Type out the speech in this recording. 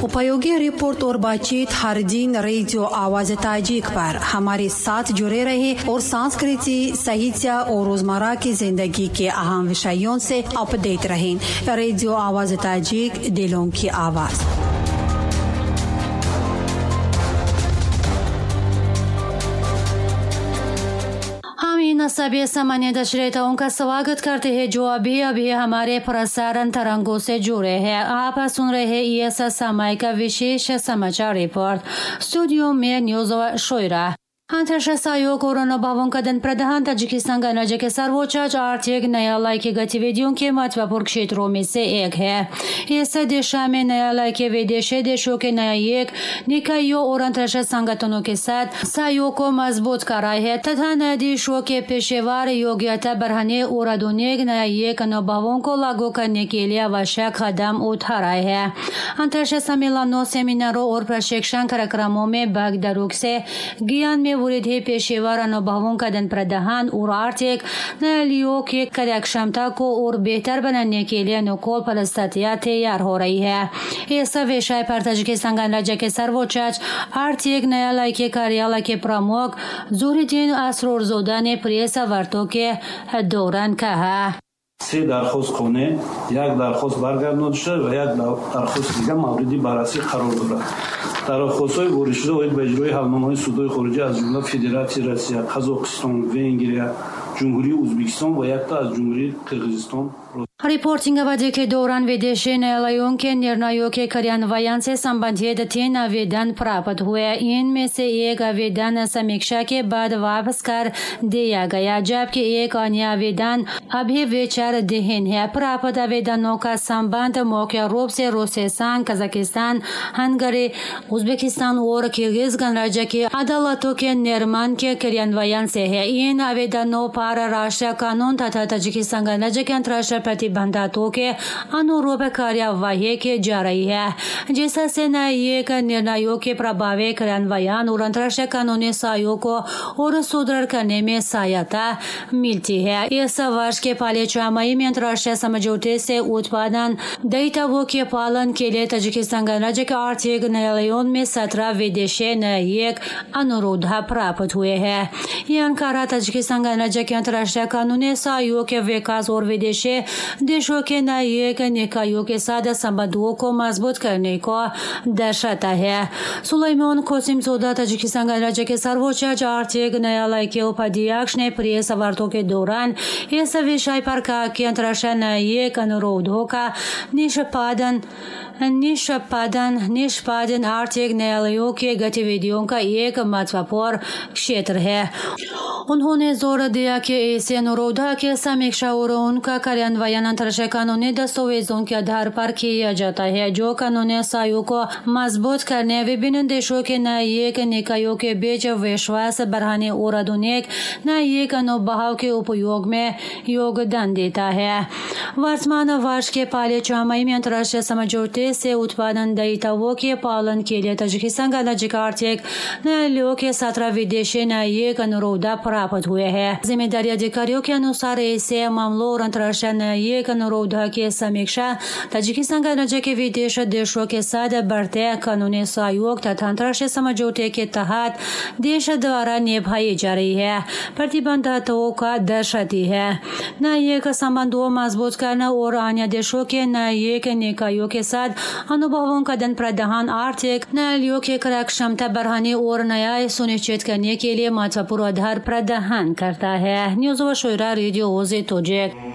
उपयोगी रिपोर्ट और बातचीत हर दिन रेडियो आवाज ताजिक पर हमारे साथ जुड़े रहे और संस्कृति, साहित्य और रोजमर्रा की जिंदगी के अहम विषयों से अपडेट रहें। रेडियो आवाज ताजिक, दिलों की आवाज। हम सभी सामान्य दर्शकों का स्वागत करते हैं जो अभी अभी हमारे प्रसारण तरंगों से जुड़े हैं। आप सुन रहे हैं इस समय का विशेष समाचार रिपोर्ट। स्टूडियो में न्यूज शोयरा। अंतर्राष्ट्रीय सहयोग और अनुभवों का आदान प्रदान ताजिकिस्तान गणराज्य के सर्वोच्च आर्थिक न्यायालय की गतिविधियों के महत्वपूर्ण क्षेत्रों में से एक है। इस दिशा में न्यायालय के विदेशी देशों के न्यायिक निकायों और अंतर्राष्ट्रीय संगठनों के साथ सहयोग को मजबूत कर रहा है तथा न्यायाधीशों के पेशेवर योग्यता बढ़ाने और आधुनिक न्यायिक अनुभवों को लागू करने के लिए आवश्यक कदम उठा रहा है। अंतर्राष्ट्रीय सम्मेलनों, सेमिनारों और प्रशिक्षण कार्यक्रमों में भागीदारों से ज्ञान में वृद्धि, पेशेवर अनुभवों का आदान प्रदान और आर्थिक न्यायालयों की कार्यक्षमता को और बेहतर बनाने के लिए अनुकूल परिस्थितियां तैयार हो रही है। इस विषय पर ताजिकिस्तान गणराज्य के सर्वोच्च आर्थिक न्यायालय के कार्यालय के प्रमुख ज़ुहरिद्दीन असररज़ोदा ने प्रेस वार्ता के दौरान कहा, се дархост қонеъ, як дархост баргардонида шуда ва як дархости дигар мавриди баррасӣ қарор дорад. Дархостҳои воридшуда оид ба иҷрои ҳалномаҳои судҳои хориҷӣ аз ҷумла Федератсияи Россия, Қазоқистон, Венгрия, Ҷумҳурии Ӯзбекистон ва якта аз Ҷумҳурии Қирғизистон. रिपोर्टिंग अवधि के दौरान विदेशी न्यायालयों के निर्णयों के कार्यान्वयन से संबंधित 3 आवेदन प्राप्त हुए। इनमें से एक आवेदन समीक्षा के बाद वापस कर दिया गया, जबकि एक अन्य आवेदन अभी विचाराधीन है। प्राप्त आवेदनों का संबंध मुख्य रूप से रूसी संघ, Kazakhstan, Hungary, Uzbekistan और किर्गिज गणराज्य की अदालतों के निर्माण के कार्यान्वयन से है। इन आवेदनों पर राष्ट्रीय कानून तथा ताजिकिस्तान गणराज्य के अंतर्राष्ट्रीय प्रतिबंधों के अनुरूप कार्यवाही की जा रही है, जिससे न्यायिक निर्णयों के प्रभावी कार्यान्वयन और अंतर्राष्ट्रीय कानूनी सहयोग को और सुदृढ़ करने में सहायता मिलती है। इस वर्ष के पहले छमाही में अंतर्राष्ट्रीय समझौते से उत्पादन दायित्वों के पालन के लिए ताजिकिस्तान गणराज्य के आर्थिक न्यायालयों में 17 विदेशी न्यायिक अनुरोध प्राप्त हुए हैं। यह अंकारा ताजिकिस्तान गणराज्य के अंतर्राष्ट्रीय कानूनी सहयोग के विकास और विदेशी देशों के न्यायिक निकायों के साथ संबंधों को मजबूत करने को दर्शाता है। सुलेमान कोसिमज़ोदा ताजिकिस्तान गणराज्य के सर्वोच्च आर्थिक न्यायालय के उपाध्यक्ष ने प्रेस वार्ता के दौरान इस विषय पर कहा कि अंतर्राष्ट्रीय न्यायिक अनुरोधों का निष्पादन आर्थिक न्यायालयों की गतिविधियों का एक महत्वपूर्ण क्षेत्र है। उन्होंने जोर दिया कि ऐसे अनुरोधों की समीक्षा और उनका कार्यान्वयन अंतर्राष्ट्रीय कानूनी दस्तावेजों के आधार पर किया जाता है, जो कानूनी सहयोग को मजबूत करने, विभिन्न देशों के न्यायिक निकायों के बीच विश्वास बढ़ाने और आधुनिक न्यायिक अनुभव के उपयोग में योगदान देता है। वर्तमान वर्ष के पहले छमाही में अंतर्राष्ट्रीय समझौते से उत्पादन दायित्वों के पालन के लिए ताजिकिस्तान गणराज्य के आर्थिक न्यायालयों के 17 विदेशी न्यायिक अनुरोध प्राप्त हुए हैं। जिम्मेदारी अधिकारियों के अनुसार ऐसे मामलों और अंतर्राष्ट्रीय न्यायिक अनुरोध की समीक्षा ताजिकिस्तान गणराज्य के विदेश देशों के साथ बढ़ते कानूनी सहयोग तथा अंतर्राष्ट्रीय समझौते के तहत देश द्वारा निभाई जा रही है प्रतिबद्धताओं का दर्शाती है। न्यायिक संबंधों मजबूत करना और अन्य देशों के न्यायिक निकायों के साथ अनुभवों का आदान प्रदान आर्थिक न्यायालयों की कार्यक्षमता बढ़ाने और न्याय सुनिश्चित करने के लिए महत्वपूर्ण आधार प्रदान करता है। न्यूज़ व शोरा, रेडियो ओज़े तोजिक।